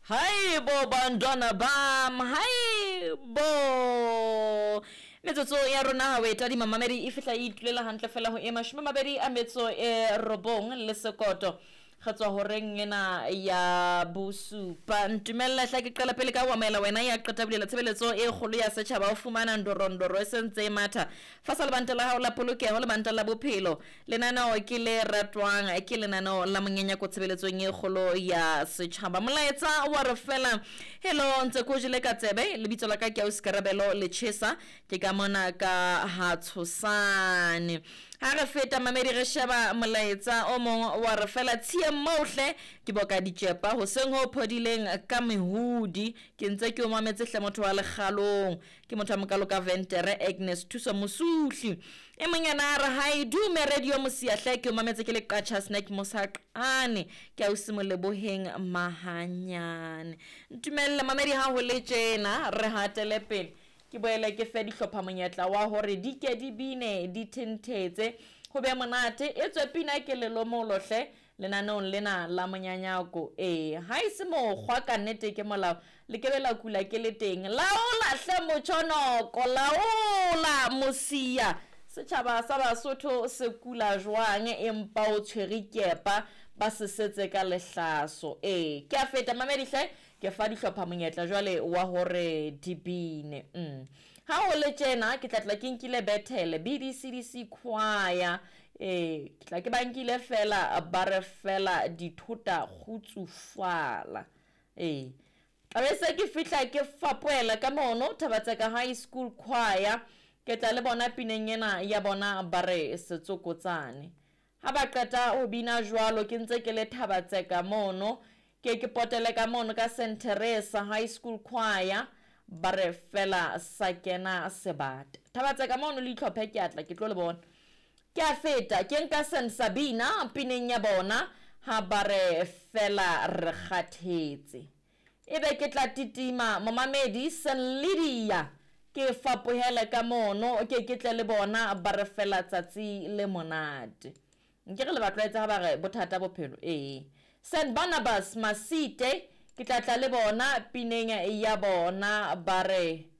Haibo bantwana bam, haibo. Metsotso ya rona ha o e tadima mamedi e fihla e itulela hantle fela ho e 29 le sekoto. Re tswa horeng ena ya bosupa. Ntumella hla ke qala pele ka ho amohela wena ya qeta bulela tshebeletso e kgolo ya setjhaba o fumana ndorondoro e sentse e matha. Fasa lebanta la hao la polokeho, lebanta la bophelo. Lenaneo ke le ratwang ke lenaneo la Monyenyako tshebeletsong e kgolo ya setjhaba. Molaetsa wa re fela, Hello, ntse ko jele ka tsebe, lebitso la ka ke Ausi Karabelo Lechesa, ke ka mona ka ha Tshosane. Ha re feta mamedi re sheba molaetsa o mong wa re fela, Tshiyeng moo hle, ke boka ditjepa hoseng ho phodileng ka mehudi, ke ntse ke o mametse hle motho wa lekgalong. Ke motho a mokalo ka ventere Agnes Thuso Mosuhli. E mong yena a re hai dume radio Mosia hle ke o mametse ke le Qacha Snack Mosaqane ke ausi Moleboheng Mahanyane. Ntumelle mamedi ha ho le tjena re hatele pele ke boele ke fe dihlopha monyetla wa hore di ke di bine di thenthetse ho be monate e tswe pina ke lelomolo hle Lenaneong lena la monyanyako, ee, ha e se mokgwa, ka nnete ke molao, le ke be la kula ke le teng. Laola hle motšhonoko, laola mosia. Setšhaba sa Basotho se kula jwang empa o tshwere kepa, ba se setse ka lehlaso. Ee, ke a feta mamedi hle, ke fa dihlopha monyetla jwale wa hore di bine. Mm. Ha ho le tjena, ke tla tla ke nkile Bethele, BDCDC Choir, Ee, ke tla ke ba nkile fela ba re fela dithota kgutsufala. Ee, tla be se ke fihla ke fapoela ka mono Thabatseka High School Choir, ke tla le bona pineng ena ya bona ba re Setsokotsane. Ha ba qeta ho bina jwalo ke ntse ke le Thabatseka mono, ke ke potele ka mono ka Saint Teresa High School Choir, ba re fela sa kena sebata. Thabatseka mono le itlhophe ke a tla ke tlo le bona. Ke a feta ke nka San Sabina pineng ya bona ha ba re fela re kgathetse. Ebe ke tla titima momamedi San Lydia ke fapohele ka mono ke ke tle le bona ba re fela tsatsi le monate. Nke re le ba tlwaetse ha ba re bothata bophelo ee. San Barnabas Masite ke tla tla le bona pineng ya bona ba re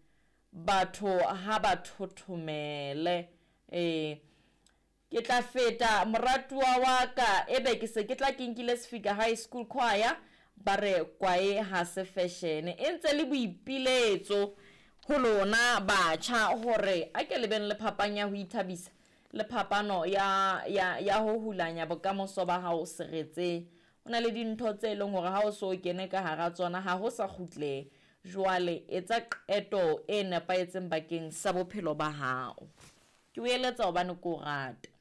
Batho ha ba thothomele. Ee. Ke tla feta, moratuwa wa ka, ebe ke se ke tla ke nkile Sefika High School Choir, ba re kwae ha se feshene. E ntse le boipiletso ho lona batjha hore a ke le beng le phapang ya ho ithabisa le phapano ya, ya, ya ho hulanya bokamoso ba hao seretseng. Ho na le dintho tse leng hore ha o so kene ka hara tsona ha ho sa kgutlehe. Jwale etsa qeto e nepahetseng bakeng sa bophelo ba hao. Ke o eletsa hobane ke o rata.